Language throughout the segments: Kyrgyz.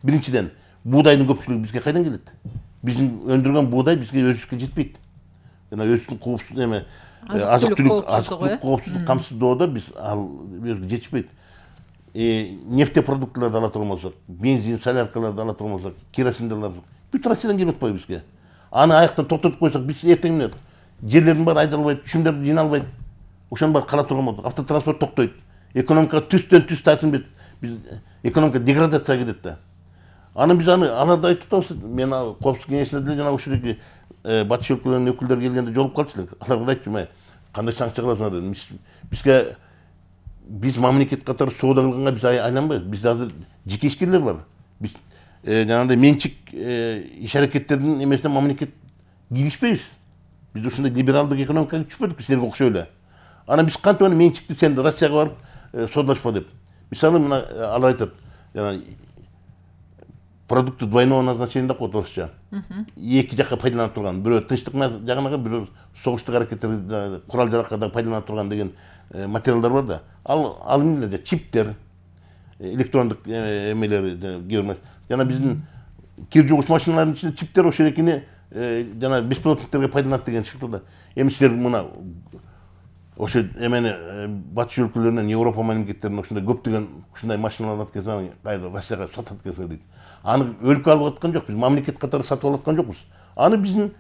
Биринчиден, buğdayдын көпчүлүгү бизге кайдан келет? Биздин өндүргөн buğday бизге өзүбүзгө жетпейт. Жана өзүбүздүн коопсуздук эме азык-түлүк коопсуздук камсыздоодо биз ал өзүбүзгө жетишпейт. Нефтепродуктыларды ала турган болсок, бензин, соляркаларды ала турган болсок, керосинди ала турсак, бүт Россиядан келип атпайбы бизге. Аны аяктан токтотуп койсок, биз эртең менен жерлердин баары айдалбайт, түшүмдөр жиналбайт. Ошонун баары кала турган болот. Автотранспорт токтойт. Экономика түстөн түз тартынбайт. Биз экономика деградацияга кетет да. Анан биз аларды айтып атабыз. Мен коопсуздук кеңешинде деле жана ушул батыш өлкөлөрүнүн өкүлдөрү келгенде жолугуп калчу элек. Аларга айттым, кандай санкция кыласыңар дедим. Бизге биз мамлекет катары соода кылганга биз айланбайбыз. Бизде азыр жеке ишкерлер бар. Биз жанагындай менчик иш аракеттердин эмесине мамлекет киришпейбиз. Биз ушундай либералдык экономикага түшпөдүк силерге окшой эле. Анан биз кантип аны менчикти сен Россияга барып соодалашпа деп. Мисалы мына алар айтат, жана продукты двойного назначения деп коет орусча. Эки жакка пайдаланып турган, бирөө тынчтык жагына, бирөө согуштук аракеттерди курал жаракка да пайдаланып турган деген материалдар бар да. Ал эмнелер, чиптер, электрондук эмелер, жана биздин кир жугуч машиналардын ичинде чиптер ошол экени жана беспилотниктерге пайдаланат деген шыктырда. Эми силер мына ошо эмени батыш өлкөлөрүнөн, Европа мамлекеттеринен ушундай көптөгөн ушундай машиналар алат экенсиң, кайра Россияга сатат экенсиң дейт. Аны өлкө алып аткан жок, биз мамлекет катары сатып алаткан жокпуз. Аны биздин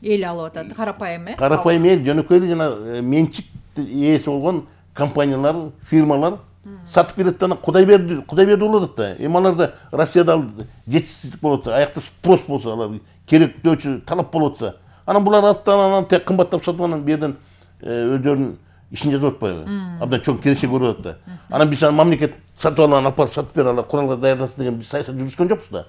эл алып атат, карапайым карапайым эл, жөнөкөй эле жана менчик ээси болгон компаниялар, фирмалар сатып берет да, Кудай берди болуп атат да. Эми аларда Россияда ал жетишсиздик болуп атса, аякта спрос болсо, алар керектөөчү талап болуп атса, анан булар анан тек кымбаттап сатып анан берден өздөрүнүн ишин жазып атпайбы? Абдан чоң келечек көрүп атат да. Анан биз мамлекет сатып алып барып сатып бер, алар куралга даярдасын деген биз саясат жүргүзгөн жокпуз да.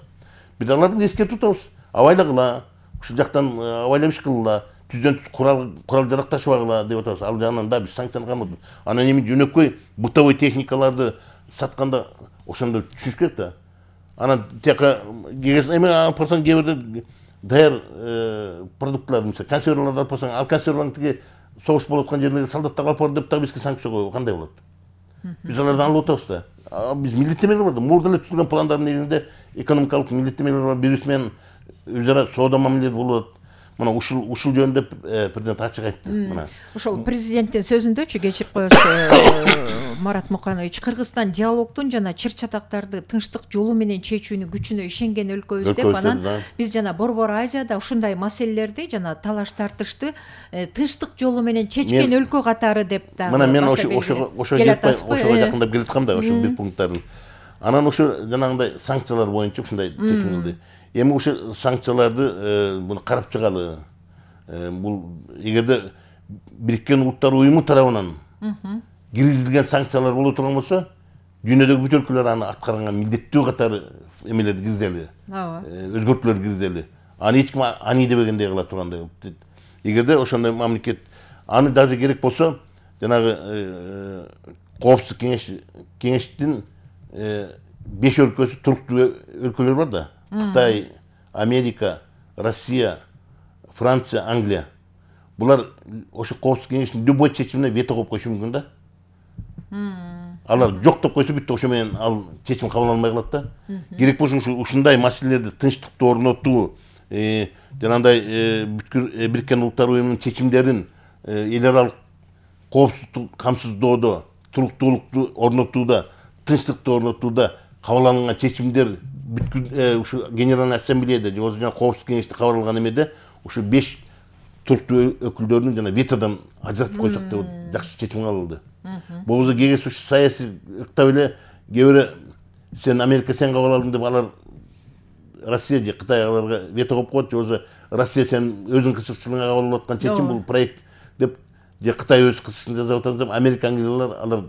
Биз аларды эскертип атабыз. Абайлагыла, ушул жактан абайлап иш кылгыла, түздөн түз курал жарак ташыбагыла деп атабыз. Ал жагынан да биз санкцияны кармадык. Анан эми жөнөкөй бытовой техникаларды сатканда ошондо түшүнүш керек да. Анан тияка эми алып барсаң, кээ бирде даяр продуктлар, мисалы консерваларды алып барсаң, ал консерваны тиги согуш болуп аткан жерлерге солдаттарга алып бар деп дагы бизге санкция коюу кандай болот? Биз алардан алып атабыз да. Биз милдеттемелер бар да. Мурда эле түзүлгөн пландардын негизинде экономикалык милдеттемелер бар. Бирибиз менен өз ара соода мамилелер болот. Мына ушул жөнүндө президент ачык айтты. Мына ошол президенттин сөзүндөчү, кечирип коесуз Марат Муканович, Кыргызстан диалогдун жана чыр-чатактарды тынчтык жолу менен чечүүнүн күчүнө ишенген өлкөбүз деп, анан биз жана Борбор Азияда ушундай маселелерди жана талаш тартышты тынчтык жолу менен чечкен өлкө катары деп да. Мына мен ошого жакындап келаткам да, ошол бир пункттарын. Анан ошо жанагындай санкциялар боюнча ушундай чечим кылды. Эми ушул санкцияларды буну карап чыгалы. Бул эгерде Бириккен Улуттар Уюму тарабынан киргизилген санкциялар боло турган болсо, дүйнөдөгү бүт өлкөлөр аны аткарганга милдеттүү катары эмелерди киргизели. Өзгөртүүлөр киргизели. Аны эч ким ани дебегендей кыла тургандай. Эгерде ошондой мамлекет аны даже керек болсо, жанагы коопсуздук кеңештин 5 өлкөсү туруктуу өлкөлөр бар да. Кытай, Америка, Россия, Франция, Англия. Булар ошо коопсуздук кеңештин любой чечимине вето коюп коюшу мүмкүн да. Алар жок деп койсо бүт ошо менен ал чечим кабыл алынбай калат да. Керек болсо ушундай маселелерди тынчтыкты орнотуу, жанагындай Бириккен Улуттар Уюмунун чечимдерин эл аралык коопсуздукту камсыздоодо, туруктуулукту орнотууда, тынчтыкты орнотууда кабыл алынган чечимдер ушу Генеральный ассамблеяда же жана коопсуздук кеңеште кабыл алган эмеде ушу 5 туруктуу өкүлдөрүн жана ветодон ажыратып койсок деп жакшы чечим кабыл алды. Болбосо кегес ушу саясий ыктап эле кээ бири сен Америка сен кабыл алдың деп алар Россия же Кытай аларга вето коюп коет, же болбосо Россия сен өзүң кызыкчылыгыңа кабыл алып аткан чечим бул проект деп, же Кытай өз кызыкчылыгын жасап атат деп Америка англиялар алар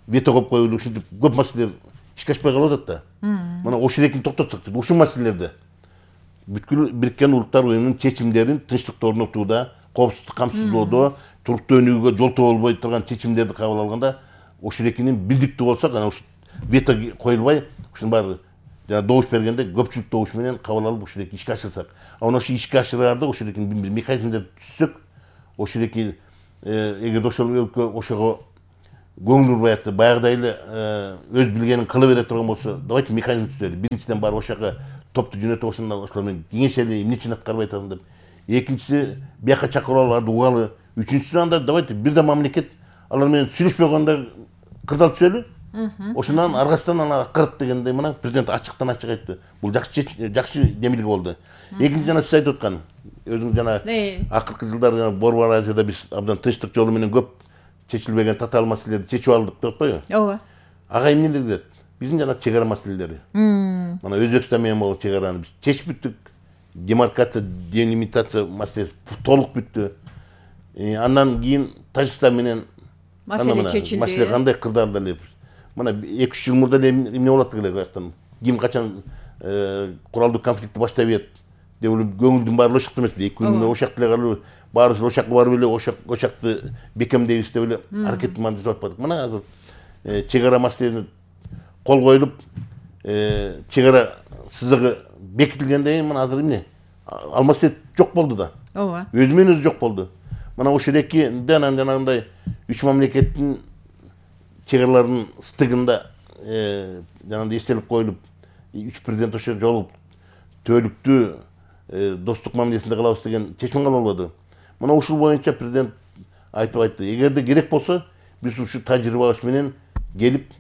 вето коюп коюлу ушинтип көп маселелер ишке ашпай калып атат да. Мына ошол экини токтотсок дейт. Ушул маселелерде бүткүл Бириккен Улуттар Уюмунун чечимдерин тынчтыкты орнотууда, коопсуздук камсыздоодо, туруктуу өнүгүүгө жол болбой турган чечимдерди кабыл алганда ошол экинин бирдиктүү болсок, анан ушу вето коюлбай, ушунун баары жана добуш бергенде көпчүлүк добуш менен кабыл алып ушул эки ишке ашырсак. Анан ошо ишке ашыраарда ошол экинин механизмдерди түзсөк, ошол эки эгерде ошол өлкө ошого көңүл бурбай атса, баягыдай эле өз билгенин кыла бере турган болсо, давайте механизм түзөлү. Биринчиден барып ошол жака топту жөнөтүп, ошолор менен кеңешели, эмне үчүн аткарбай атасың деп. Экинчиси, бияка чакырып аларды угалы. Үчүнчүсү анда давайте бирден мамлекет алар менен сүйлөшпөй койгондо кырдаал түзөлү. Ошондон аргасынан аны аткарат дегендей мына президент ачыктан ачык айтты. Бул жакшы демилге болду. Экинчи жана сиз айтып аткан өзүң жана акыркы жылдары Борбор Азияда биз абдан тынчтык жолу менен көп чечилбеген татаал маселелерди чечип алдык деп атпайбы? Ооба. Ага эмне дедет? Биздин жана чек ара маселелери. Мына Өзбекстан менен болгон чек араны биз чечип бүттүк. Демаркация, делимитация маселеси толук бүттү. Андан кийин Тажикстан менен маселе чечилди. Маселе кандай кырдаалда эле. Мына 2-3 жыл мурда эмне болот деле каяктан. Ким качан куралдуу конфликтти баштап ийет деп көңүлдүн баары ошак эмес. 2 күн ошак деле калып, баарыбыз ошакка барып эле ошакты бекемдейбиз деп эле аракетти мандырып атпадык. Мына азыр чек ара маселени кол коюлуп, чек ара сызыгы бекитилгенден кийин мына азыр эмне? Ал маселе жок болду да. Ооба. Өзү менен өзү жок болду. Мына ошол эки жанагындай 3 мамлекеттин чек араларынын стыгында жанагындай эстелик коюлуп, 3 президент ошо жолугуп түбөлүктүү достук мамилесинде кылабыз деген чечим кабыл болду. Мына ушул боюнча президент айтып айтты. Эгерде керек болсо, биз ушу тажрыйбабыз менен келип,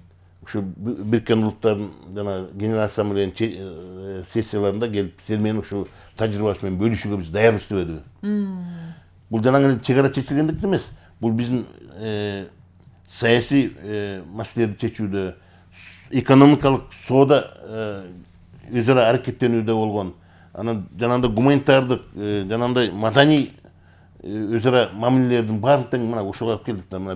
ушу Бириккен Улуттардын жана Генералдык Ассамблеянын сессияларында келип, сиз менен ушул тажрыйбабыз менен бөлүшүүгө биз даярбыз дебеди. Бул жанагы чек ара чечилгендик эмес. Бул биздин саясий маселелерди чечүүдө, экономикалык соода өз ара аракеттенүүдө болгон, анан жанагындай гуманитардык, жанагындай маданий өз ара мамилелердин баарын тең мына ушуга алып келдик да. Мына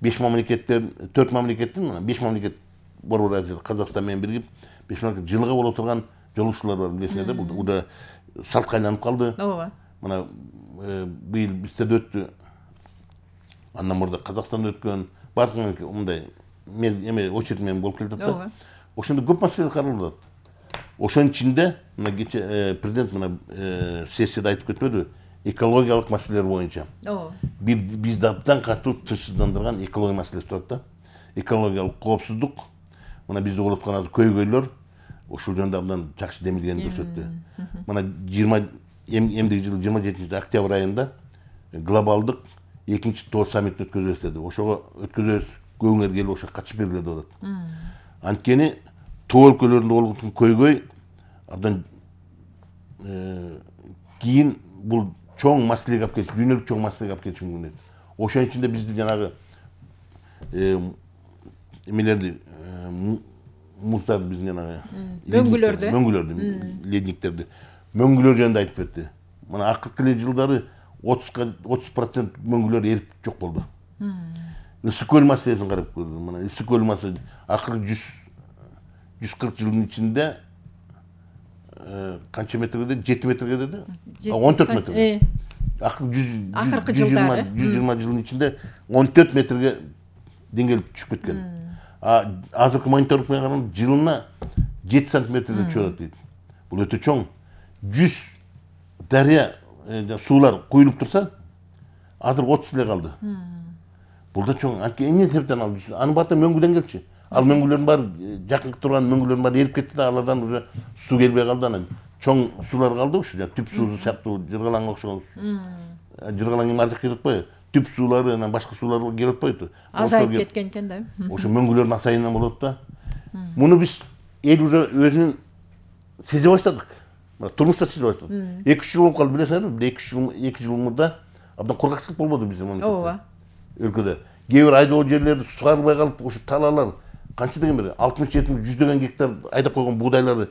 5 мамлекеттен, 4 мамлекеттин, мына 5 мамлекет Борбор Азияда Казакстан менен биригип, 5 мамлекет жылга боло турган жолугушуулар бар, билесиңер да. Бул да салтка айланып калды. Ооба. Мына быйыл бизде өттү. Андан мурда Казакстанда өткөн, баардык мындай эме очередь менен болуп келатат да. Ошондо көп маселе каралып атат. Ошонун ичинде мына кече президент мына сессияда айтып кетпедиби? Экологиялык маселелер боюнча. Бизди абдан катуу тынчсыздандырган экология маселеси турат да. Экологиялык коопсуздук, мына бизди угулуп аткан көйгөйлөр ушул жөнүндө абдан жакшы демилгени көрсөттү. Мына эмдиги жылы 27 октябрь айында глобалдык 2-Тоо саммитин өткөзөбүз деди. Ошого өткөзөбүз, көңүңөр келип ошого катышып бергиле деп атат. Анткени Тоо өлкөлөрүндө болгон көйгөй абдан кийин бул чоң маселеге алып келиши, дүйнөлүк чоң маселеге алып келиши мүмкүн. Ошонун ичинде бизди жанагы эмелерди, муздарды биздин жанагы мөңгүлөрдү, ледниктерди, мөңгүлөр жөнүндө айтып кетти. Мына акыркы эле жылдары 30% мөңгүлөр эрип жок болду. Ысык көл маселесин карап көрдүм. Мына ысык көл маселеси акыркы 140 жылдын ичинде канча метрге деди? 7 метрге деди? 14 метрге. Акыркы 120 жылдын ичинде 14 метрге деңгээль түшүп кеткен. Азыркы мониторинг менен караганда жылына 7 сантиметрден түшүп атат дейт. Бул өтө чоң. 100 дарыя суулар куюлуп турса, азыр 30 эле калды. Бул да чоң. Эмне себептен ал? Анын баары мөңгүдөн келчү. Ал мөңгүлөрдүн баары, жакын турган мөңгүлөрдүн баары эрип кетти да, алардан уже суу келбей калды. Анан чоң суулар калды ушу, түп суу сыяктуу жыргалаңга окшогон. Жыргалаң эми ар жакка кетип атпайбы? Түп суулары, анан башка суулар келип атпайбы? Азайып кеткен экен да. Ошо мөңгүлөрдүн асайынан болот да. Муну биз эл уже өзүнүн сезе баштадык. Турмушта сезе баштадык. 2-3 жыл болуп калды, билесиңерби? 2 жыл мурда абдан кургакчылык болбоду биздин мамлекетте. Ооба. Өлкөдө. Кээ бир айдоо жерлерди сугарылбай калып, ушу талаалар канча деген бир 60-70 100 гектар айдап койгон буудайлары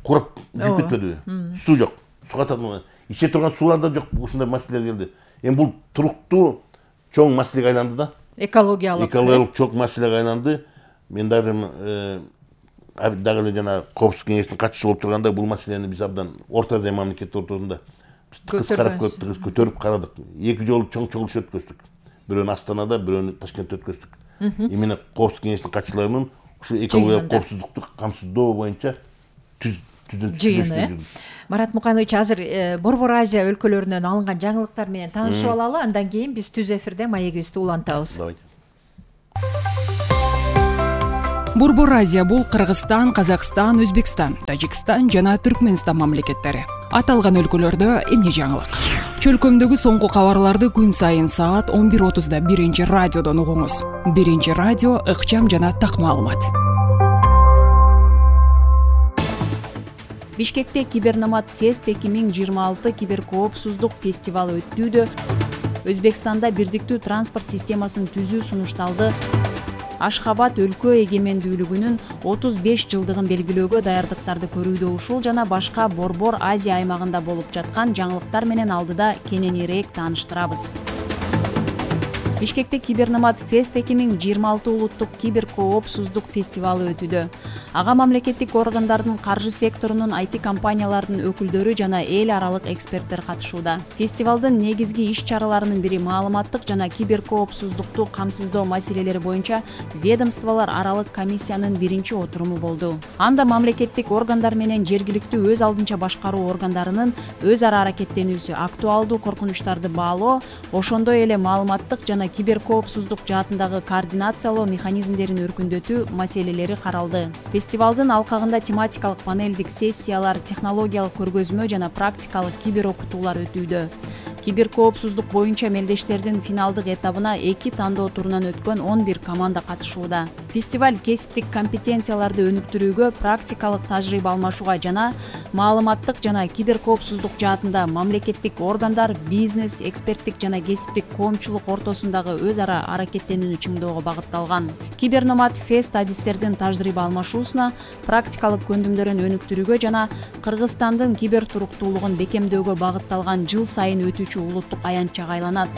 курап жүрүп кетпедиби? Суу жок. Суу катат. Иче турган суулар да жок. Ушундай маселелер келди. Эми бул туруктуу чоң маселеге айланды да. Экологиялык чоң маселеге айланды. Мен дагы эле жана Коопсуздук кеңешинин катчысы болуп турганда бул маселени биз абдан Орто Азия мамлекеттери ортосунда көтөрүп карадык. 2 жолу чоң чогулуш өткөздүк. Бирөөнү Астанада, бирөөнү Ташкентте өткөздүк. Именно Коопсуздук кеңешинин катчыларынын ушу экологиялык коопсуздукту камсыздоо боюнча жыйыны. Марат Муканович, азыр Борбор Азия өлкөлөрүнөн алынган жаңылыктар менен таанышып алалы, андан кийин биз түз эфирде маегибизди улантабыз. Борбор Азия бул Кыргызстан, Казакстан, Өзбекстан, Тажикстан жана Түркмөнстан мамлекеттери. Аталган өлкөлөрдө эмне жаңылык? Чөлкөмдөгү соңку кабарларды күн сайын саат 11:30 биринчи радиодон угуңуз. Биринчи радио ыкчам жана так маалымат. Бишкекте Киберномад Фест 2026 киберкоопсуздук фестивалы өтүүдө. Өзбекстанда бирдиктүү транспорт системасын түзүү сунушталды. Ашхабад өлкө эгемендүүлүгүнүн 35 жылдыгын белгилөөгө даярдыктарды көрүүдө ушул жана башка Борбор Азия аймагында болуп жаткан жаңылыктар менен алдыда кененирээк тааныштырабыз. Бишкекте Киберномад Фест 2026 улуттук киберкоопсуздук фестивалы өтүүдө. Ага мамлекеттик органдардын, каржы секторунун, IT компаниялардын өкүлдөрү жана эл аралык эксперттер катышууда. Фестивалдын негизги иш-чараларынын бири маалыматтык жана киберкоопсуздукту камсыздоо маселелери боюнча ведомстволор аралык комиссиянын биринчи отуруму болду. Анда мамлекеттик органдар менен жергиликтүү өз алдынча башкаруу органдарынын өз ара аракеттенүүсү, актуалдуу коркунучтарды баалоо, ошондой эле маалыматтык жана киберкоопсуздук жаатындагы координациялоо механизмдерин өркүндөтүү маселелери каралды. Фестивалдын алкагында тематикалык панелдик сессиялар, технологиялык көргөзмө жана практикалык кибер окутуулар өтүүдө. Киберкоопсуздук боюнча мелдештердин финалдык этабына 2 тандоо турунан өткөн 11 команда катышууда. Фестиваль кесиптик компетенцияларды өнүктүрүүгө, практикалык тажрыйба алмашууга жана маалыматтык жана киберкоопсуздук жаатында мамлекеттик органдар, бизнес, эксперттик жана кесиптик коомчулук ортосундагы өз ара аракеттенүүнү чыңдоого багытталган. Киберномад Фест адистердин тажрыйба алмашуусуна, практикалык көндүмдөрүн өнүктүрүүгө жана Кыргызстандын кибер туруктуулугун бекемдөөгө багытталган жыл сайын өтүүчү улуттук аянтчага айланат.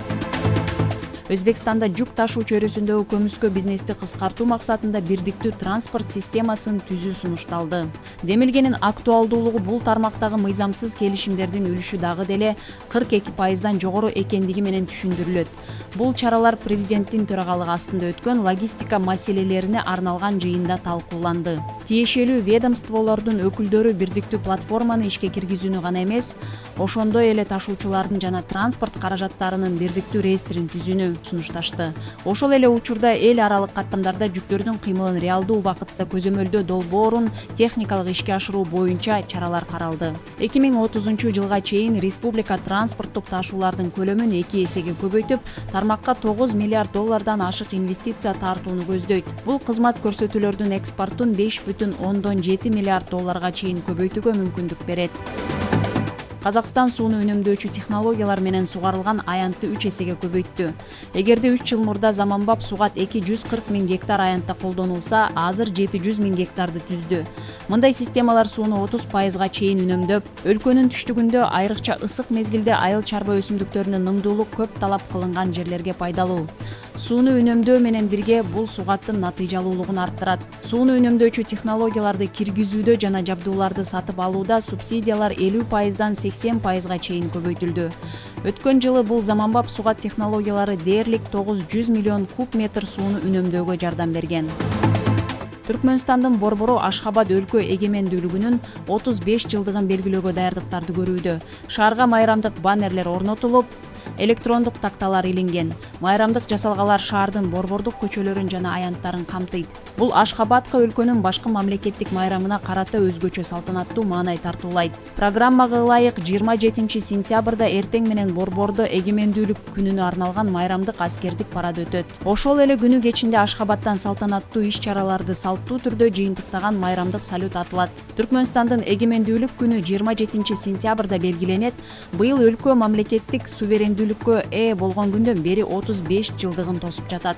Өзбекстанда жүк ташуучу өрүсүндөгү көмүскө бизнести кыскартуу максатында бирдиктүү транспорт системасын түзүү сунушталды. Демилгенин актуалдуулугу бул тармактагы мыйзамсыз келишимдердин үлүшү дагы деле 42%дан жогору экендиги менен түшүндүрүлөт. Бул чаралар президенттин төрагалыгы астында өткөн логистика маселелерине арналган жыйында талкууланды. Тиешелүү ведомстволордун өкүлдөрү бирдиктүү платформаны ишке киргизүүнү гана эмес, ошондой эле ташуучулардын жана транспорт каражаттарынын бирдиктүү реестрин түзүүнү сунушташты. Ошол эле учурда эл аралык каттамдарда жүктөрдүн кыймылын реалдуу убакытта көзөмөлдөө долбоорун техникалык ишке ашыруу боюнча чаралар каралды. 2030 жылга чейин республика транспорттук ташуулардын көлөмүн 2 эсеге көбөйтүп, тармакка $9 миллиард ашык инвестиция тартууну көздөйт. Бул кызмат көрсөтүүлөрдүн экспортун $5,7 миллиард чейин көбөйтүүгө мүмкүндүк берет. Казакстан сууну үнөмдөөчү технологиялар менен сугарылган аянтты 3 эсеге көбөйттү. Эгерде 3 жыл мурда заманбап сугат 240 000 гектар аянтта колдонулса, азыр 700 000 гектарды түздү. Мындай системалар сууну 30% чейин үнөмдөп, өлкөнүн түштүгүндө айрыкча ысык мезгилде айыл чарба өсүмдүктөрүнө нымдуулук көп талап кылынган жерлерге пайдалуу. Сууну үнөмдөө менен бирге бул сугаттын натыйжалуулугун арттырат. Сууну үнөмдөөчү технологияларды киргизүүдө жана жабдууларды сатып алууда субсидиялар 50%дан 80% чейин көбөйтүлдү. Өткөн жылы бул заманбап сугат технологиялары дээрлик 900 миллион куб метр сууну үнөмдөөгө жардам берген. Түркмөнстандын борбору Ашхабад өлкө эгемендүүлүгүнүн 35 жылдыгын белгилөөгө даярдыктарды көрүүдө. Шаарга майрамдык баннерлер орнотулуп, электрондук такталар илинген. Майрамдык жасалгалар шаардын борбордук көчөлөрүн жана аянттарын камтыйт. Бул Ашхабадка өлкөнүн башкы мамлекеттик майрамына карата өзгөчө салтанаттуу маанай тартуулайт. Программага ылайык 27 сентябрда эртең менен борбордо эгемендүүлүк күнүнө арналган майрамдык аскердик парад өтөт. Ошол эле күнү кечинде Ашхабадтан салтанаттуу иш-чараларды салттуу түрдө жыйынтыктаган майрамдык салют атылат. Түркмөнстандын эгемендүүлүк күнү 27 сентябрда белгиленет. Быйыл өлкө мамлекеттик суверендүүлүккө ээ болгон күндөн бери 35 жылдыгын тосуп жатат.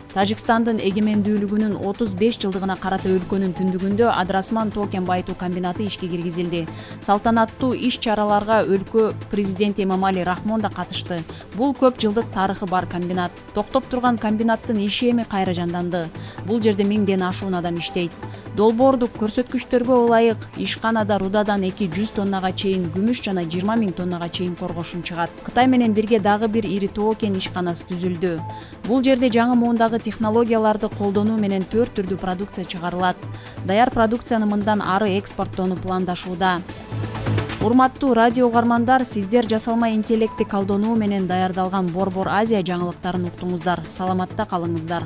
Тажикстандын эгемендүүлүгүнүн 35 жылдыгына карата өлкөнүн түндүгүндө Адрасман токен байытуу комбинаты ишке киргизилди. Салтанаттуу иш-чараларга өлкө президенти Эмомали Рахмон да катышты. Бул көп жылдык тарыхы бар комбинат. Токтоп турган комбинаттын иши эми кайра жанданды. Бул жерде 1000ден ашуун адам иштейт. Долбоордук көрсөткүчтөргө ылайык ишканада рудадан 200 тоннага чейин күмүш жана 20 000 тоннага чейин коргошун чыгат. Кытай менен бирге дагы бир ири токен ишканасы түзүлдү. Бул жерде жаңы муундагы технологияларды колдонуу менен 4 түрдүү продукция чыгарылат. Даяр продукцияны мындан ары экспорттоону пландашууда. Урматтуу радио угармандар, сиздер жасалма интеллектти колдонуу менен даярдалган Борбор Азия жаңылыктарын уктуңуздар. Саламатта калыңыздар.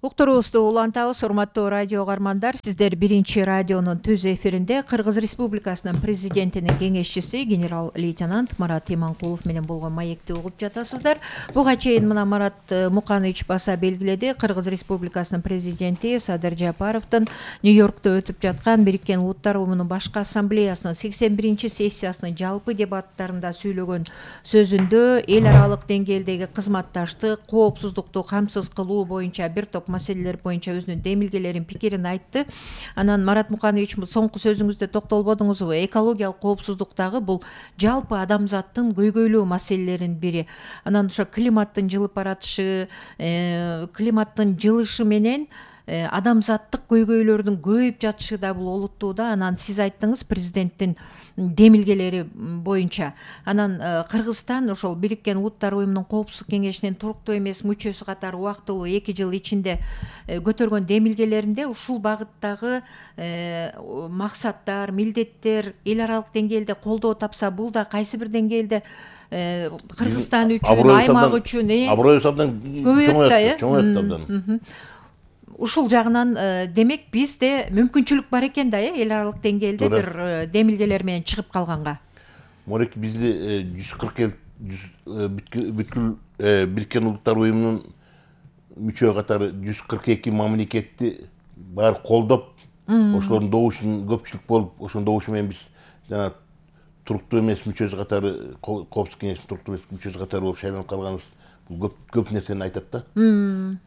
Уктуруубузду улантабыз, урматтуу радио угармандар. Сиздер биринчи радионун түз эфиринде Кыргыз Республикасынын президентинин кеңешчиси генерал лейтенант Марат Иманкулов менен болгон маекти угуп жатасыздар. Буга чейин мына Марат Муканович баса белгиледи. Кыргыз Республикасынын президенти Садыр Жапаровдун Нью-Йоркто өтүп жаткан Бириккен Улуттар Уюмунун башкы ассамблеясынын 81 сессиясынын жалпы дебаттарында сүйлөгөн сөзүндө эл аралык деңгээлдеги кызматташтык, коопсуздукту камсыз кылуу боюнча бир топ маселелер боюнча өзүнүн демилгелерин, пикирин айтты. Анан Марат Муканович, соңку сөзүңүздө токтолбодуңузбу? Экологиялык коопсуздуктагы бул жалпы адамзаттын көйгөйлүү маселелеринин бири. Анан ошо климаттын жылып баратышы, климаттын жылышы менен адамзаттык көйгөйлөрдүн көбөйүп жатышы да бул олуттууда. Анан сиз айттыңыз президенттин демилгелери боюнча. Анан Кыргызстан ошол Бириккен Улуттар Уюмунун Коопсуздук кеңешинин туруктуу эмес мүчөсү катары убактылуу 2 жыл ичинде көтөргөн демилгелеринде ушул багыттагы максаттар, милдеттер эл аралык деңгээлде колдоо тапса, бул да кайсы бир деңгээлде Кыргызстан үчүн, аймак үчүн аброюбуз абдан чоңойот абдан. Ушул жагынан демек бизде мүмкүнчүлүк бар экен да, эл аралык деңгээлде бир демилгелер менен чыгып калганга. Морек бизде 140 бүткүл Бириккен Улуттар Уюмунун мүчө катары 142 мамлекетти баары колдоп, ошолордун добушунун көпчүлүк болуп, ошонун добушу менен биз жана туруктуу эмес мүчөсү катары, Коопсуздук кеңешинин туруктуу эмес мүчөсү катары болуп шайланып калганыбыз көп нерсени айтат да.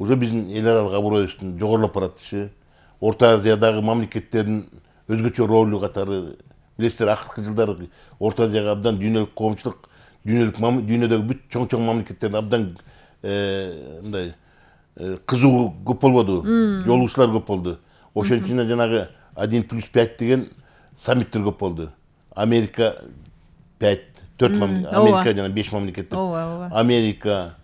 Уже биздин эл аралык аброюбуздун жогорулап баратышы, Орто Азиядагы мамлекеттердин өзгөчө ролу катары, билесиздер, акыркы жылдары Орто Азияга абдан дүйнөлүк коомчулук, дүйнөдөгү бүт чоң мамлекеттердин абдан мындай кызыгуу көп болбоду, жолугуучулар көп болду. Ошон үчүн жанагы 1+5 деген саммиттер көп болду. Америка 5, 4 мамлекет, Америка жана 5 мамлекет. Америка,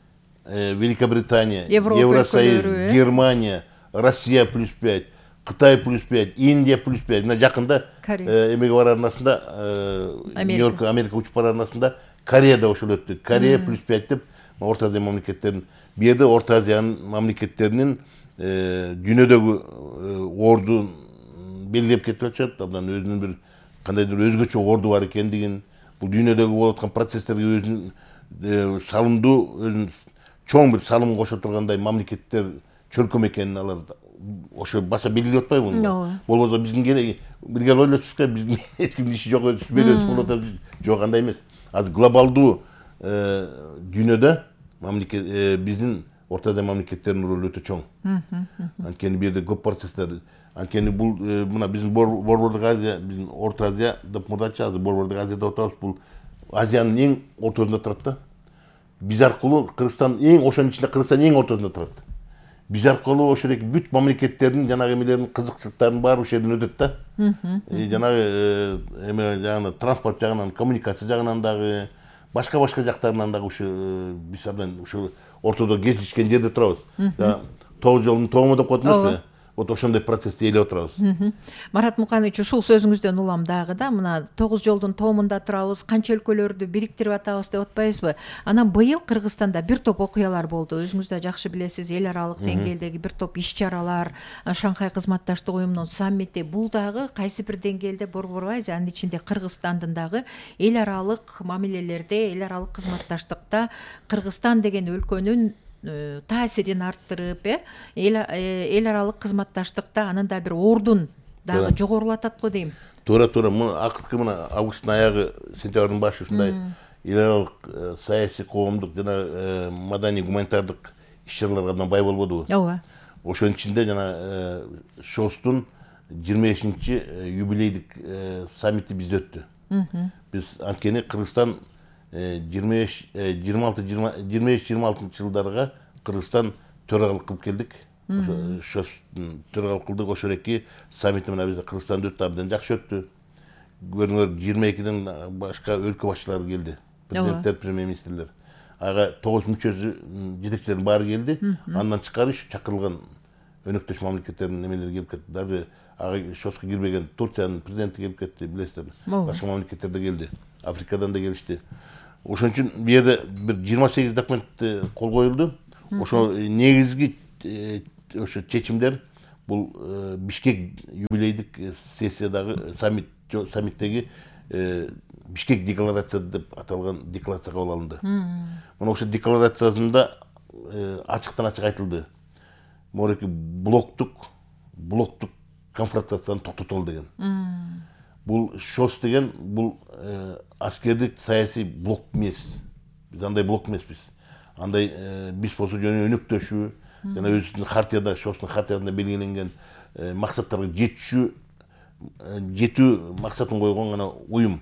Великобритания, Евросоюз, Германия, Россия +5, Кытай +5, Индия +5. Мына жакында эмеге барар арнасында, Нью-Йорк, Америка учуп барар арнасында Кореяда ошол өттү. Корея +5 деп Орто Азия мамлекеттерин, бу жерде Орто Азиянын мамлекеттеринин дүйнөдөгү ордун белгилеп кетип атышат. Абдан өзүнүн бир кандайдыр өзгөчө орду бар экендигин, бул дүйнөдөгү болуп аткан процесстерге өзүнүн салымдуу, өзүнүн чоң бир салым кошо тургандай мамлекеттер, чөлкөм экенин алар ошо баса белгилеп атпайбы муну? Болбосо биздин бирге ойлочубузга, биздин эч кимдин иши жок, өзүбүз белебиз болуп атабыз. Жок, андай эмес. Азыр глобалдуу дүйнөдө биздин Орто Азия мамлекеттеринин ролу өтө чоң. Анткени бу жерде көп процесстер, анткени бул мына биздин Борбордук Азия, биздин Орто Азия деп мурдачы, азыр Борбордук Азия деп атабыз. Бул Азиянын эң ортосунда турат да. Биз аркылуу Кыргызстан ошонун ичинде Кыргызстан эң ортосунда турат. Биз аркылуу ошодоки бүт мамлекеттердин жанагы эмелеринин кызыкчылыктарын баары ошол жерден өтөт да. Жанагы эме транспорт жагынан, коммуникация жагынан дагы, башка жактарынан дагы ушу биз абдан ушу ортодо кездешкен жерде турабыз. 9 жолдун тому деп коет эмеспи? Вот ошондой процессти ээлеп отурабыз. Марат Муканович, ушул сөзүңүздөн улам дагы да, мына 9 жолдун тоомунда турабыз, канча өлкөлөрдү бириктирип атабыз деп атпайбызбы? Анан быйыл Кыргызстанда бир топ окуялар болду. Өзүңүз да жакшы билесиз, эл аралык деңгээлдеги бир топ иш-чаралар, Шанхай кызматташтык уюмунун саммити, бул дагы кайсы бир деңгээлде Борбор Азия, анын ичинде Кыргызстандын дагы эл аралык мамилелерде, эл аралык кызматташтыкта Кыргызстан деген өлкөнүн таасирин арттырып, эл аралык кызматташтыкта анын да бир ордун дагы жогорулатат го дейм. Туура. Акыркы мына августтун аягы, сентябрдын башы ушундай эл аралык саясий, коомдук жана маданий гуманитардык иш-чараларга абдан бай болбодубу? Ооба. Ошонун ичинде жана ШОСтун 25-юбилейдик саммити бизде өттү. Биз анткени Кыргызстан 25-26 жылдарга Кыргызстан төрагалык кылып келдик. Ошо төрагалык кылдык. Ошол эки саммити менен биз Кыргызстанда өттү, абдан жакшы өттү. Көрүңөр, 22ден башка өлкө башчылары келди. Президенттер, премьер-министрлер. Ага 9 мүчөсү, жетекчилердин баары келди. Андан тышкары чакырылган өнөктөш мамлекеттердин немелери келип кетти. Даже ага шоско кирбеген Турциянын президенти келип кетти, билесиздер. Башка мамлекеттер да келди. Африкадан да келишти. Ошон үчүн бу жерде бир 28 документ кол коюлду. Ошо негизги ошо чечимдер бул Бишкек юбилейдик сессиядагы саммиттеги Бишкек декларациясы деп аталган декларация кабыл алынды. Мына ошо декларациясында ачыктан ачык айтылды. Мореки блоктук конфронтацияны токтотолу деген. Бул ШОС деген бул аскердик саясий блок эмес. Биз андай блок эмеспиз. Андай биз болсо жөн өнөктөшүү жана өзүбүздүн хартияда, ШОСтун хартиясында белгиленген максаттарга жетүү максатын койгон гана уюм.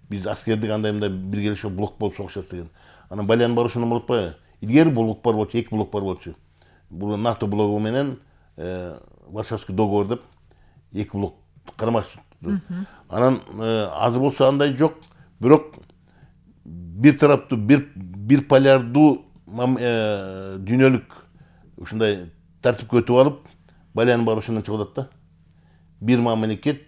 Биз аскердик андай мындай биргелешип блок болуп согушат деген. Анан балянын баары ошондон болот атпайбы? Илгери блок бар болчу, 2 блок бар болчу. Бул НАТО блогу менен Варшавский договор деп 2 блок кармашып. Анан азыр болсо андай жок, бирок бир тараптуу бир полярдуу дүйнөлүк ушундай тартипке өтүп алып, балянын баары ошондон чыгып атат да. Бир мамлекет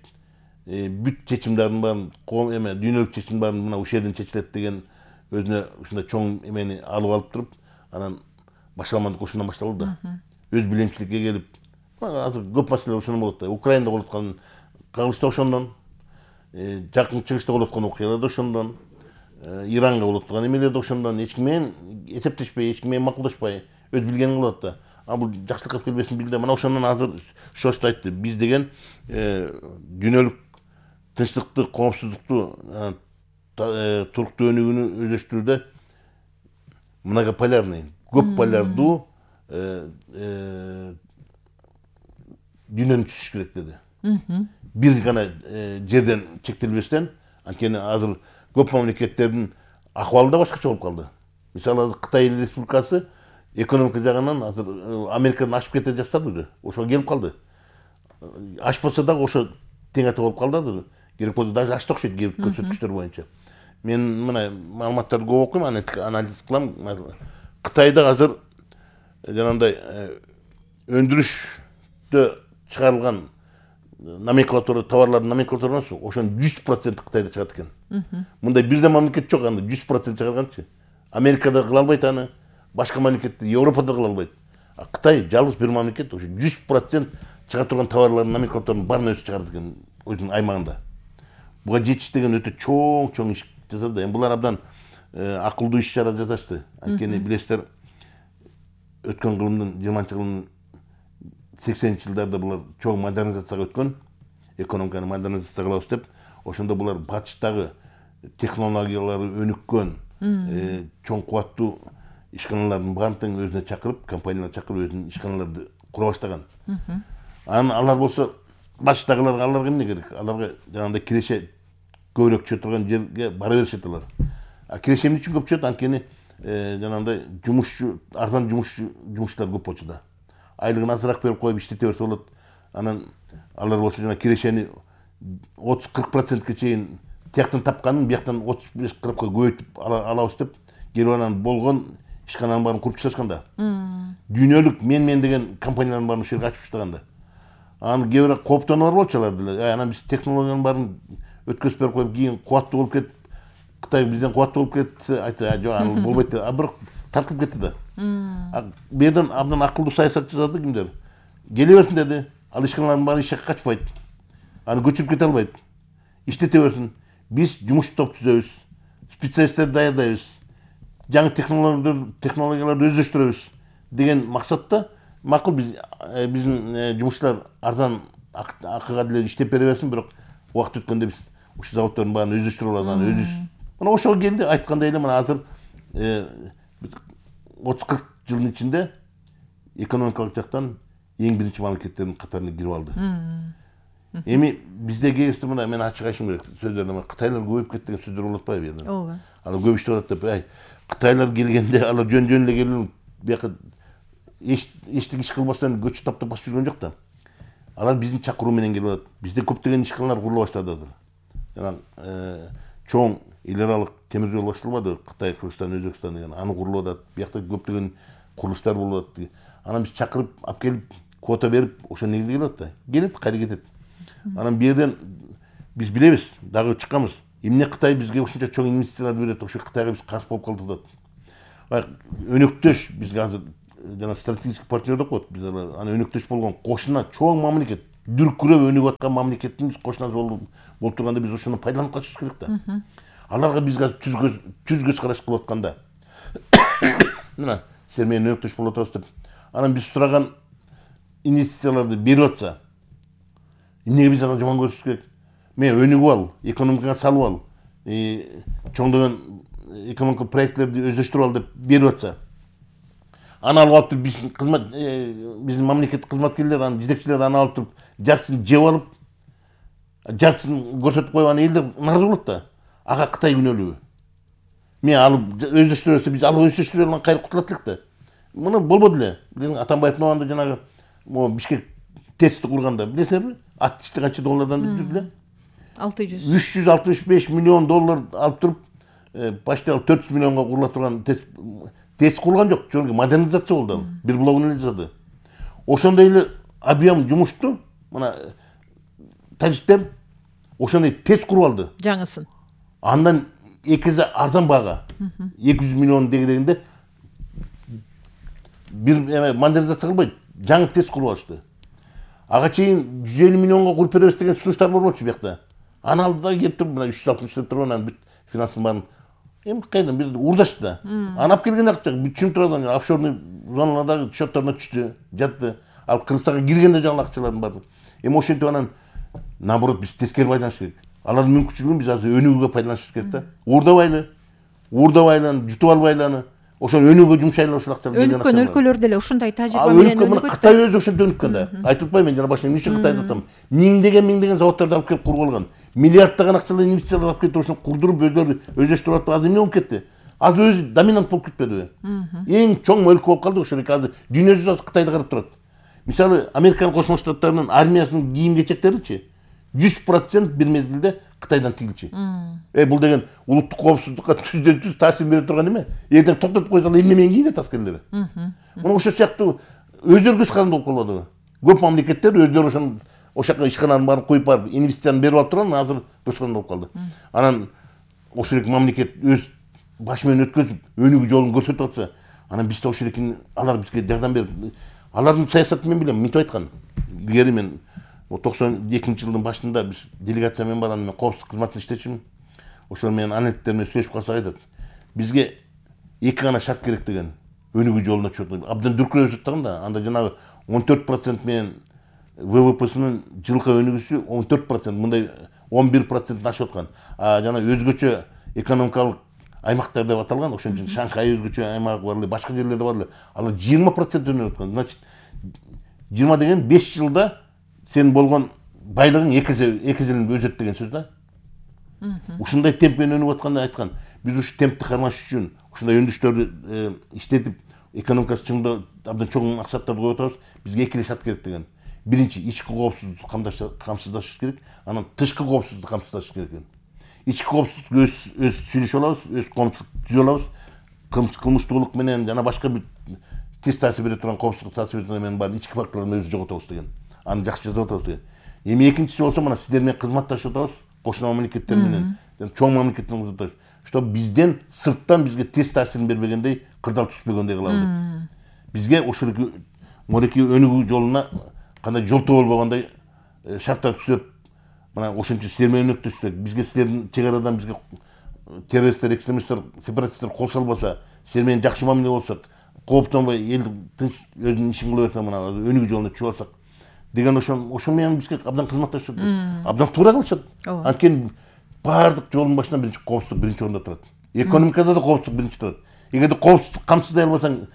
бүт чечимдердин баарын, дүйнөлүк чечимдердин баарын мына ушул жерден чечилет деген өзүнө ушундай чоң эмени алып туруп, анан башталмандык ошондон башталды да. Өз билемчиликке келип, азыр көп маселе ошондон болот да. Украинада болуп аткан кагылыш да ошондон, жакын чыгышта болуп аткан окуялар да ошондон, Иранга болуп аткан эмелер да ошондон. Эч ким менен эсептешпей, эч ким менен макулдашпай, өз билгенин кылып атат да. Бул жакшылыкка келбесин билди. Мына ошондон азыр ШОС айтты. Биз деген дүйнөлүк тынчтыкты, коопсуздукту, туруктуу өнүгүүнү өздөштүрүүдө многополярный, көп полярдуу дүйнөнү түзүш керек деди. Бир гана жерден чектелбестен, анткени азыр көп мамлекеттердин акыбалы да башкача болуп калды. Мисалы Кытай Республикасы экономика жагынан азыр Америкадан ашып кете жаштады уже. Ошого келип калды. Ашпаса дагы ошо тең ата болуп калды азыр. Керек болсо даже ашты окшойт кээ бир көрсөткүчтөр боюнча. Мен мына маалыматтарды көп окуйм, анализ кылам. Кытайда азыр жанагындай өндүрүштө чыгарылган номенклатура, товарлардын номенклатурасы ошонун 100% Кытайда чыгат экен. Мындай бирден мамлекет жок, аны 100% чыгарганчы. Америкада кыла албайт аны, башка мамлекет Европада кыла албайт. А Кытай жалгыз бир мамлекет ошо 100% чыга турган товарлардын номенклатураны баарын өзү чыгарат экен өзүнүн аймагында. Буга жетиш деген өтө чоң иш жасады. Эми булар абдан акылдуу иш чара жасашты. Анткени билесиздер, өткөн кылымдын 20-кылымдын 80 жылдарда булар чоң модернизацияга өткөн, экономиканы модернизация кылабыз деп, ошондо булар батыштагы технологиялары өнүккөн, чоң кубаттуу ишканалардын баарын тең өзүнө чакырып, компанияларды чакырып өзүнүн ишканаларды кура баштаган. Анан алар болсо башыдагыларга аларга эмне керек? Аларга жанагындай киреше көбүрөөк чыга турган жерге бара беришет алар. А киреше эмне үчүн көп чыгат? Анткени жанагындай жумушчу, арзан жумушчулар көп болчу да. Айлыгын азыраак берип коюп иштете берсе болот. Анан алар болсо жана кирешени 30-40%ке чейин тияктан тапканын бияктан 35-40-ка көбөйтүп алабыз деп, келип анан болгон ишкананын баарын куруп чыгышкан да. Дүйнөлүк мен деген компаниялардын баарын ушул жерге ачып таштаган да. Аны кээ бир кооптонуулар болчу алар деле. Анан биз технологиянын баарын өткөзүп берип коюп, кийин кубаттуу болуп кетип, Кытай бизден кубаттуу болуп кетсе, айтты, жок, аны болбойт деп. А бирок тартылып кетти да. Бу жерден абдан акылдуу саясат жасады кимдер? Келе берсин деди. Ал ишканалардын баары ишке качпайт. Аны көчүрүп кете албайт. Иштете берсин. Биз жумуш топ түзөбүз. Специалисттерди даярдайбыз. Жаңы технологияларды өздөштүрөбүз деген максатта макул биздин жумушчулар арзан акыга деле иштеп бере берсин, бирок убакыт өткөндө биз ушул заводдордун баарын өздөштүрүп алабыз, аны өзүбүз. Мына ошого келди, айткандай эле мына азыр 30-40 жылдын ичинде экономикалык жактан эң биринчи мамлекеттердин катарына кирип алды. Эми бизде кээсти мына мен ачык айтышым керек сөздөрдө Кытайлар көбөйүп кетти деген сөздөр болуп атпайбы жерде? Ооба. Алар көп иштеп атат деп, Кытайлар келгенде алар жөн эле келип бияка эчтек иш кылбастан көчү таптап басып жүргөн жок да. Алар биздин чакыруу менен келип атат. Бизде көптөгөн ишканалар курула баштады азыр. Жана чоң эл аралык темир жол башталбады, Кытай, Кыргызстан, Өзбекстан деген. Аны курулуп атат. Биякта көптөгөн курулуштар болуп атат. Анан биз чакырып алып келип, квота берип, ошо негизде келип атат да. Келет, кайра кетет. Анан бул жерден биз билебиз, дагы чыкканбыз. Эмне Кытай бизге ушунча чоң инвестициялар берет, ошо Кытайга биз каршы болуп калдык деп. Өнөктөш бизге азыр жана стратегический партнер деп коет. Биз аны өнөктөш болгон кошуна чоң мамлекет, дүркүрөп өнүгүп аткан мамлекеттин биз кошунасы болуп турганда биз ошону пайдаланып калышыбыз керек да. Аларга биз азыр түз көз караш кылып атканда мына силер менен өнөктөш болуп атабыз деп, анан биз сураган инвестицияларды берип атса, эмнеге биз аны жаман көрүшүбүз керек? Мен өнүгүп ал, экономикага салып ал, чоңдогон экономика проектлерди өздөштүрүп ал деп берип атса, аны алып алып туруп биздин мамлекеттик кызматкерлер, анын жетекчилери аны алып туруп жартысын жеп алып, жартысын көрсөтүп коюп, аны элдер наразы болот да. Ага Кытай күнөөлүүбү? Мен алып өздөштүрөбүз, биз алып өздөштүрүп алган кайра кутулат элек да. Муну болбоду эле. Биздин Атамбаевдин убагында жанагы Бишкек ТЭЦти курганда билесиңерби? Ат канча доллардан жүрдү эле? 365 миллион доллар алып туруп, почти 400 миллионго курула турган ТЭЦ курулган жок, жөнөкөй модернизация болду ал. Бир блогун эле жасады. Ошондой эле объем жумушту мына тажиктер ошондой ТЭЦ куруп алды. Жаңысын. Андан 2 арзан бага, 200 миллион дегенде бир модернизация кылбайт, жаңы ТЭЦ куруп алышты. Ага чейин 150 миллионго куруп беребиз деген сунуштар болчу бияқта. Аны алды да келип туруп, мына 360 деп туруп, анан бүт финансын баарын кайдан бир урдашты да. Аны алып келген акча түшүнүп турган офшорный зоналардагы счёттарына түштү, жатты. Ал Кыргызстанга киргенде жаңы акчалардын баары. Ошентип анан наоборот биз тескери байланыш керек. Алардын мүмкүнчүлүгүн биз азыр өнүгүүгө пайдаланышыбыз керек да. Уурдабайлы, жутуп албайлы аны. Ошону өнүгүүгө жумшайлы ошол акчаны. Өнүккөн өлкөлөрдө эле ушундай тажрыйба менен өнүгөт. Кытай өзү ошентип өнүккөн да. Айтып атпайбы мен жана башында эмне үчүн Кытайды атам? Миңдеген заводдорду алып келип куруп алган. Миллиарддаган акчалар инвестициялар алып келип ошону курдуруп өздөрү өздөштүрүп атып азыр эмне болуп кетти? Азыр өзү доминант болуп кетпедиби? Эң чоң өлкө болуп калды ошол азыр дүйнө жүзү Кытайды карап турат. Мисалы, Американ Кошмо Штаттарынын армиясынын кийим-кечектеричи 100% бир мезгилде Кытайдан тигилчи. Бул деген улуттук коопсуздукка түздөн түз таасир бере турган эме. Эртең токтотуп койсоң эмне менен кийинет аскерлери. Мына ошол сыяктуу өздөрү көз каранды болуп калбадыбы? Көп мамлекеттер өздөрү ошол жака ишканаларын баарын коюп барып, инвестицияны берип алып турган, азыр көз каранды болуп калды. Анан ошол эки мамлекет өз башы менен өткөзүп, өнүгүү жолун көрсөтүп атса, анан биз да ошол эки алар бизге жардам берип, алардын саясатын мен билем, мынтип айткан. Илгери мен 92-жылдын башында биз делегация менен барганда мен коопсуздук кызматында иштечүмүн. Ошол менен анеттер менен сүйлөшүп калсак айтат. Бизге эки гана шарт керек деген. Өнүгүү жолуна чыгып, абдан дүркүрөп жаткан да. Анда жанагы 14% менен ВВПсынын жылкы өнүгүүсү 14%, мындай 11%-тен ашып аткан. Жана өзгөчө экономикалык аймактар деп аталган, ошон үчүн Шанхай өзгөчө аймак бар эле, башка жерлерде бар эле. Алар 20% өнүгүп аткан. Значит, 20 деген 5 жылда сен болгон байлыгың эки эселенip өсөт деген сөз да. Ушундай темп менен өнүгүп атканда айткан. Биз ушу темпти кармаш үчүн ушундай өндүштөрдү иштетип, экономикасы чыңдоо абдан чоң максаттарды коюп атабыз. Бизге эки эле шарт керек деген. Биринчи, ички коопсуздукту камсыздашыбыз керек, анан тышкы коопсуздукту камсыздашыбыз керек экен. Ички коопсуздук өз сүйлөшүп алабыз, өз коомчулук түзүп алабыз. Кылмыштуулук менен жана башка бир тез таасир бере турган коопсуздук таасир бере турган баарын ички факторлорун өзү жоготобуз деген. Аны жакшы жазып атабыз деген. Эми экинчиси болсо мына сиздер менен кызматташып атабыз, кошуна мамлекеттер менен, чоң мамлекеттер менен, что бизден сырттан бизге тез таасирин бербегендей, кырдаал түспөгөндөй кылалы деп. Бизге ошол мореки өнүгүү жолуна кандай жолтоо болбогондой шарттар түзүп, мына ошентип силер менен өнөктөшсөк, бизге силердин чек арадан бизге террористтер, экстремисттер, сепаратисттер кол салбаса, силер менен жакшы мамиле болсок, кооптонбой эл тынч өзүнүн ишин кыла берсе, мына өнүгүү жолуна чыгып алсак деген ошол менен бизге абдан кызматташат, абдан туура кылышат. Анткени баардык жолдун башынан биринчи коопсуздук биринчи орунда турат. Экономикада да коопсуздук биринчи турат. Эгерде коопсуздук камсыздай албасаң,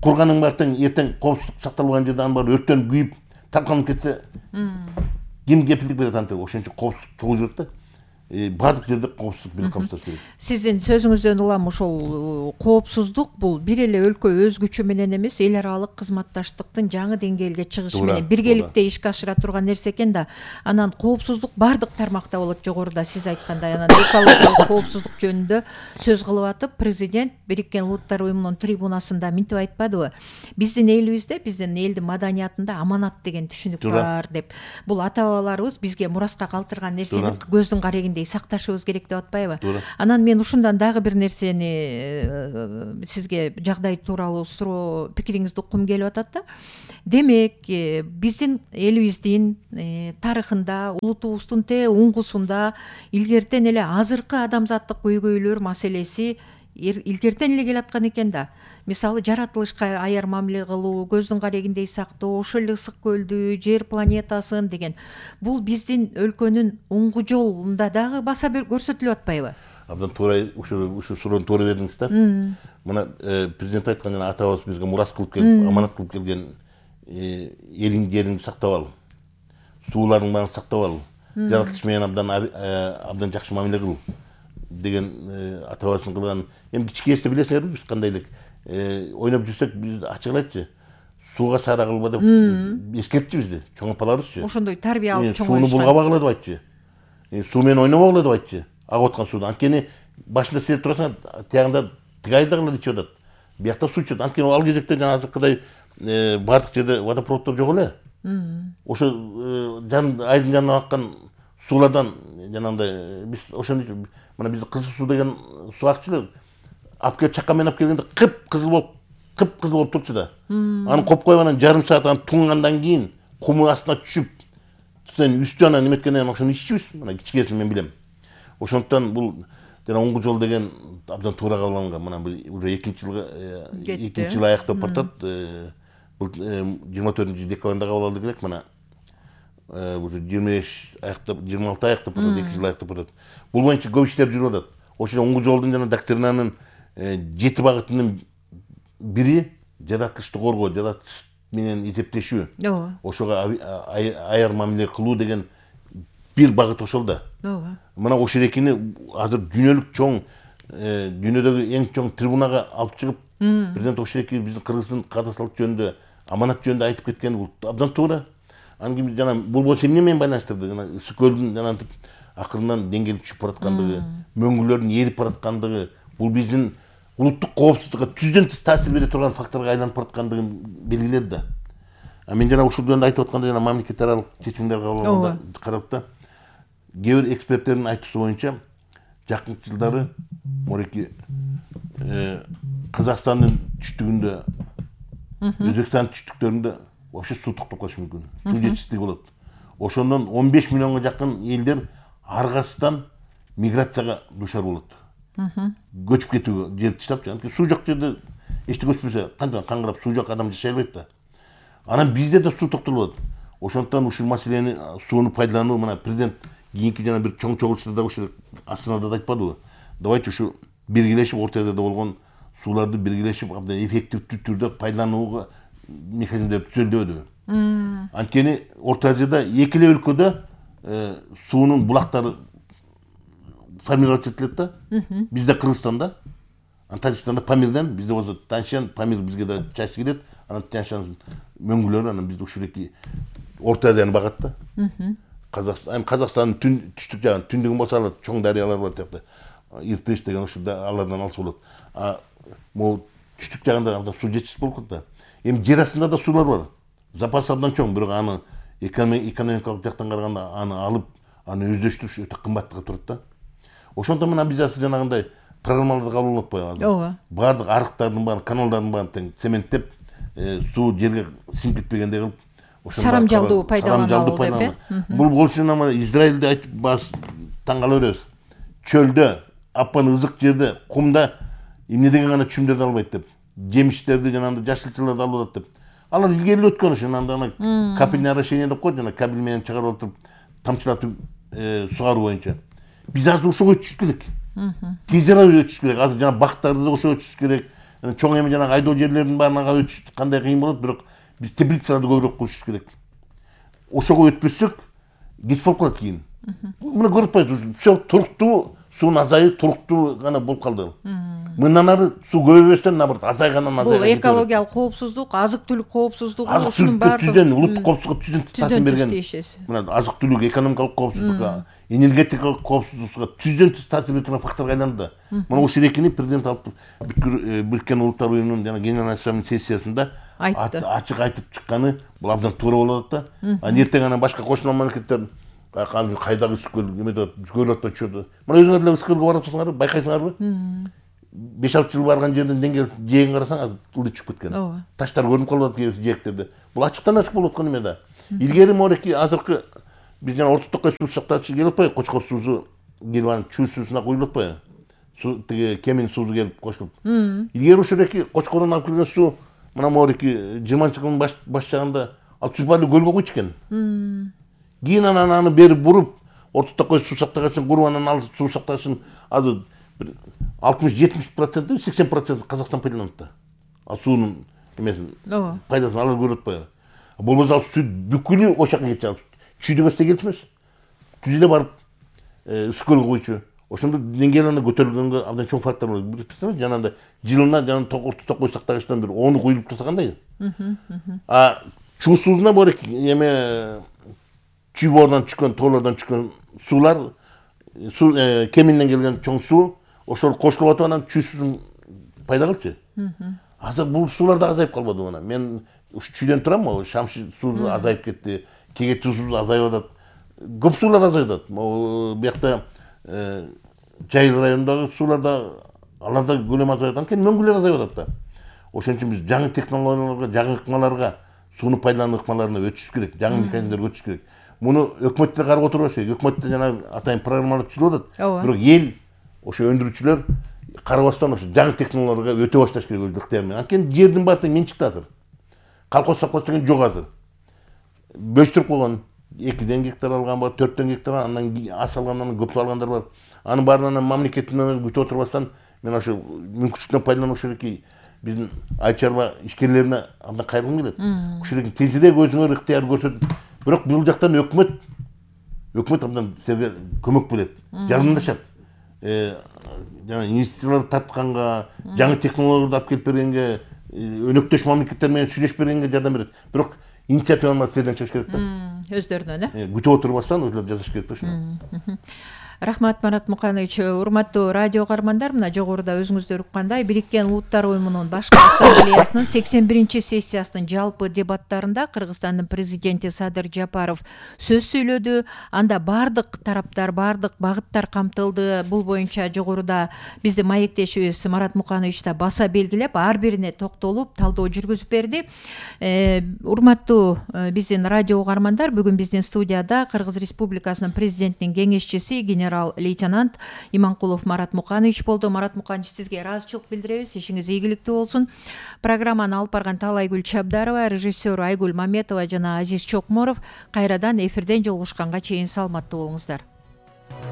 курганың баары эртең коопсуздук сакталбаган жерде анын баары өрттөнүп күйүп, талканып кетсе, ким кепилдик берет антип? Ошон үчүн коопсуздук чогуу жүрөт да. баардык жерде коопсуздук бийлик камсыздаш керек. Сиздин сөзүңүздөн улам ошол коопсуздук бул бир эле өлкө өз күчү менен эмес, эл аралык кызматташтыктын жаңы деңгээлге чыгышы менен биргеликте ишке ашыра турган нерсе экен да. Анан коопсуздук баардык тармакта болот. Жогоруда сиз айткандай, анан экологиялык коопсуздук жөнүндө сөз кылып атып, президент Бириккен Улуттар Уюмунун трибунасында мынтип айтпадыбы? Биздин элибизде, биздин элдин маданиятында аманат деген түшүнүк бар деп. Бул ата бабаларыбыз бизге мураска калтырган нерсени көздүн карегиндей сакташыбыз керек деп атпайбы? Анан мен ушундан дагы бир нерсени сизге жагдай тууралуу суроо пикириңизди уккум келип атат да. Демек, биздин элибиздин тарыхында, улутубуздун уңгусунда илгертен эле азыркы адамзаттык көйгөйлөр маселеси илгертен эле келаткан экен да. Мисалы, жаратылышка аяр мамиле кылуу, көздүн карегиндей сактоо, ошол эле ысык көлдү, жер планетасын деген. Бул биздин өлкөнүн уңгу жолунда дагы баса көрсөтүлүп атпайбы? Абдан туура, ушу суроону туура бердиңиз да. Мына президент айткан жана атабыз бизге мурас кылып келип, аманат кылып келген элиң жериңди сактап ал, сууларың баарын сактап ал, жаратылыш менен абдан жакшы мамиле кыл деген атабыздын кылган. Эми кичинекейсинде билесиңерби, биз кандай элек ойноп жүрсөк, биз ачык эле сууга саара кылба деп эскертчү бизди, чоң апаларыбызчы. Ошондой тарбия алып чоңоюшкан. Сууну булгабагыла деп айтчы. Суу менен ойнобогула деп айтчы. Агып аткан суудан. Анткени башында сезип турасың, тиягында тигайдагылар ичип атат. Биякта суу ичет. Анткени ал кезекте жана азыркыдай баардык жерде водопроводдор жок эле. Ошо айдын жанынан аккан суулардан жанагындай биз ошону мына бизде кызыл суу деген суу акчу эле. Алып келип чакка менен алып келгенде кып-кызыл болуп турчу да. Аны коп коюп анан жарым саат аны туңгандан кийин куму астына түшүп, сен үстү анан неметкенден кийин ошону иччүбүз. Мына кичикесин мен билем. Ошондуктан бул жана оңгу жол деген абдан туура кабыл алынган. Мына уже 2 жыл аяктап батат. Бул 24 декабрда кабыл алды керек. Мына уже 25 аяктап, 26 аяктап батат, 2 жыл аяктап батат. Бул боюнча көп иштер жүрүп атат. Ошо оңгу жолдун жана доктринанын 7 багытынын бири жаратылышты коргоо, жаратылыш менен эсептешүү. Ошого аяр мамиле кылуу деген бир багыт ошол да. Мына ошол экини азыр дүйнөлүк чоң, дүйнөдөгү эң чоң трибунага алып чыгып, президент ошол эки биздин Кыргыздын кадастрлык жөнүндө, аманат жөнүндө айтып кеткен бул абдан туура. Анан кийин жана бул болсо эмне менен байланыштырды? Жана ысык көлдүн жанантип акырынан деңгээли түшүп бараткандыгы, мөңгүлөрдүн эрип бараткандыгы, бул биздин улуттук коопсуздукка түздөн тыш таасир бере турган факторго айланып бараткандыгын белгиледи да. Мен жана ушул жөнүндө айтып атканда жана мамлекет аралык чечимдер кабыл алганда каралды. Кээ бир эксперттердин айтуусу боюнча жакынкы жылдары мореки Казакстандын түштүгүндө, Өзбекстандын түштүктөрүндө вообще суу токтоп калышы мүмкүн. Суу жетишсиздиги болот. Ошондон 15 миллионго жакын элдер аргасынан миграцияга дуушар болот. Көчүп кетүүгө, жер таштап, анткени суу жок жерде эчтеке өспөсө, кантип каңгырап суу жок адам жашай албайт да. Анан бизде да суу токтолот. Ошондуктан ушул маселени, сууну пайдалануу, мына президент кийинки жана бир чоң чогулушта ушул Астанада да айтпадыбы? Давайте ушу биргелешип, Орто Азияда болгон сууларды биргелешип, абдан эффективдүү түрдө пайдаланууга механизмдер түзөлдүбү? Анткени Орто Азияда эки эле өлкөдө суунун булактары формироваться этилет да. Бизде Кыргызстанда, Тажикстанда Памирден, бизде болсо Тянь-Шань, Памир бизге да чачы келет. Анан Тянь-Шань мөңгүлөрү, анан бизде ушул эки Орто Азияны багат да. Казакстандын түштүк жагын, түндүгүн болсо алар чоң дарыялар бар тиякта. Иртыш деген ушул алардан алса болот. Могу түштүк жагында абдан суу жетишсиз болуп калат да. Эми жер астында да суулар бар. Запасы абдан чоң, бирок аны экономикалык жактан караганда аны алып, аны өздөштүрүш өтө кымбатка турат да. Ошондон мына биз азыр жанагындай программаларды кабыл алып атпайбы? Баардык арыктардын баарын, каналдардын баарын тең цементтеп, суу жерге сиңип кетпегендей кылып, сарамжалдуу пайдалануу деп. Бул болушуна Израилде айтып таң кала беребиз. Чөлдө, апан ызык жерде, кумда эмне деген гана чүмдөрдү албайт деп, жемиштерди жанагындай жашылчаларды алып атат деп. Алар илгери өткөн ошо, анда капельное орошение деп коет, жана кабель менен чыгарып отуруп, тамчылатып сугаруу боюнча. Биз азыр ошого өтүшүбүз керек. Тез арада өтүшүбүз керек. Азыр жана бактарды да ошого өтүшүбүз керек. Чоң эми жана айдоо жерлердин баарына өтүш кандай кыйын болот, бирок биз теплицаларды көбүрөөк курушубуз керек. Ошого өтпөсөк, кеч болуп калат кийин. мына көрүп атпайсызбы, все туруктуу, суунун азайып туруктуу гана болуп калды. Мындан ары суу көбөйбөстөн наоборот азайгандан бул экологиялык коопсуздук, азык түлүк коопсуздугу, ушунун баардыгы түздөн улуттук коопсуздукка түздөн таасир берген. Мына азык түлүк, экономикалык коопсуздукка, энергетикалык коопсуздукка түздөн түз таасир бере турган факторго айланды. Мына ушул экини президент алып Бириккен Улуттар уюмунун жана Генеральный Ассамблеянын сессиясында ачык айтып чыкканы бул абдан туура болуп атат да. Эртең анан башка кошулган мамлекеттер кайдагы Үскөл эметип атат, Үскөл атпай чөдү. Мына өзүңөр деле Үскөлгө барып атасыңарбы, байкайсыңарбы? 5-6 жыл барган жерден деңгел жээгин карасаң азыр ылдый чүгүп кеткен. Таштар көрүнүп калып атат кээ жээктерде. Бул ачыктан ачык болуп аткан эме да. Илгери морeki азыркы биз жана Орто Токой суу сактагычы келип атпайбы? Кочкор суусу келип анан чүй суусуна куюлуп атпайбы? Тиги Кемин суусу келип кошулуп. Илгери ошол Кочкордон алып келген суу мына морeki 20-жылдын баш жагында ал Түзбайлуу көлгө куйчу экен. Кийин анан аны берип буруп Орто Токой суу сактагычын куруп анан ал суу сактагычын азыр 60-70%, 80% Казакстан пайдаланат да. Ал суунун эмесин, пайдасын алар көрүп атпайбы? Болбосо ал суу бүкүлү ошол жака кетчү. Чүйдө көчтө келчү эмес. Чүйдө барып Үскөлгө куйчу. Ошондо деңгээлине көтөрүлгөнгө абдан чоң фактор болот. Представляете, жанагындай жылына жана Орто Токой сактагычтан бир 10 куюлуп турса кандай? Чүй суусуна борек эме чүй боорунан чыккан, тоолордон чыккан суулар, Кеминден келген чоң суу ошол кошулуп атып анан чүй суусун пайда кылчу. Азыр бул суулар да азайып калбадыбы ана. Мен ушу чүйдөн турам, Шамши суу азайып кетти, Кегет суу азайып атат. Көп суулар азайып атат. Биякта Жайыл районундагы суулар да алар да көлөмү азайып атат. Анткени мөңгүлөр азайып атат да. Ошон үчүн биз жаңы технологияларга, жаңы ыкмаларга, сууну пайдалануу ыкмаларына өтүш керек, жаңы механизмдерге өтүш керек. Муну өкмөттө карап отурбаш керек. Өкмөттө жана атайын программалар түзүлүп атат. Бирок эл ошо өндүрүүчүлөр карабастан ошо жаңы технологияларга өтө башташ керек өз ыктыяры менен. Анткени жердин баары менчикте азыр. Колхоз совхоз деген жок азыр. Бөлүштүрүп койгон. 2 гектар алган бар, 4 гектар, андан аз алгандан көп алгандар бар. Анын баарынан мамлекеттин күтүп отурбастан мен ошо мүмкүнчүлүктөн пайдаланып ошол биздин айыл чарба ишкерлерине абдан кайрылгым келет. Ошол тезирээк өзүңөр ыктыяр көрсөтүп, бирок бул жактан өкмөт абдан силерге көмөк берет, жардамдашат. Жана инвестицияларды тартканга, жаңы технологияларды алып келип бергенге, өнөктөш мамлекеттер менен сүйлөшүп бергенге жардам берет. Бирок инициативаны силерден чыгыш керек да. Өздөрүнөн, күтүп отурбастан өзүлөр жасаш керек да ушуну. Рахмат, Марат Муканович. Урматтуу радио каармандар, мына жогоруда өзүңүздөр уккандай Бириккен Улуттар уюмунун башкы ассамблеясынын 81-сессиясынын жалпы дебаттарында Кыргызстандын президенти Садыр Жапаров сөз сүйлөдү. Анда бардык тараптар, бардык багыттар камтылды. Бул боюнча жогоруда биздин маектешибиз Марат Муканович да баса белгилеп, ар бирине токтолуп, талдоо жүргүзүп берди. Урматтуу биздин радио каармандар, бүгүн биздин студияда Кыргыз Республикасынын президентинин кеңешчиси генерал-лейтенант Иманкулов Марат Муканович болду. Марат Муканович, сизге ыраазычылык билдиребиз. Ишиңиз ийгиликтүү болсун. Программаны алып барган Талайгүл Чабдарова, режиссер Айгүл Маметова жана Азиз Чокморов. Кайрадан эфирден жолугушканга чейин саламаттуу болуңуздар.